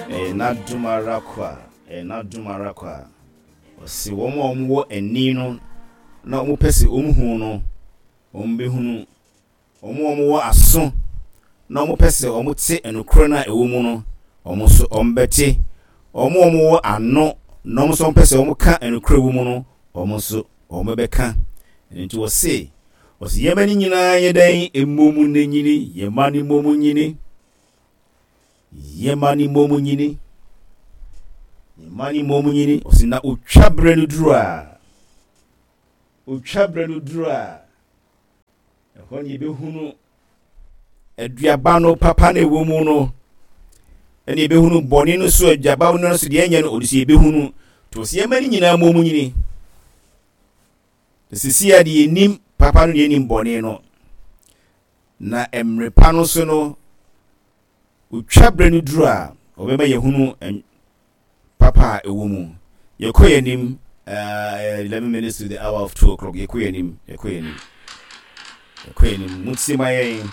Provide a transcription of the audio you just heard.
Ɛyɛ n'adom ara kwa, ɛyɛ n'adom ara kwa. Ɔse wɔn a wɔwɔ ani no na wɔpɛ sɛ wɔhu no, wɔbɛhunu. Wɔn a wɔwɔ aso na wɔpɛ sɛ wɔte nokorɛ no a ɛwɔ mu no, wɔn nso wɔbɛte. Wɔn a wɔwɔ ano na wɔn nso wɔpɛ sɛ wɔka nokorɛ wɔ mu no, wɔn nso wɔbɛka. Ɛno nti wɔse, wɔse yɛma no nyinaa nyɛ dɛn? Mmɔ mu na nyini, yɛma no mmɔ mu nyini. Yɛma no mmɔ mu nyini. Yɛma no mmɔ mu nyini. Ɔse na otwa berɛ no duru a, otwa berɛ no duru a, Ɛhɔ na yɛbɛhunu aduaba no papa no ɛwɔ mu no, ɛna yɛbɛhunu bɔne no so aduaba no so deɛ ɛnyɛ no ɔde so yɛbɛhunu. To sɛ yɛma no nyinaa mmɔ mu nyini. Sisi a deɛ yɛnim papa no deɛ yɛnim bɔne no. Na mmerɛ pa no so no, otwa berɛ no duru a, ɔbɛma yɛhunu papa a ɛwɔ mu. Yɛkɔ yɛn anim, uh, 11 minutes to the hour of 2 o'clock. Yɛkɔ yɛn anim, yɛkɔ yɛn anim. Yɛkɔ yɛn anim. Montie ma yɛn.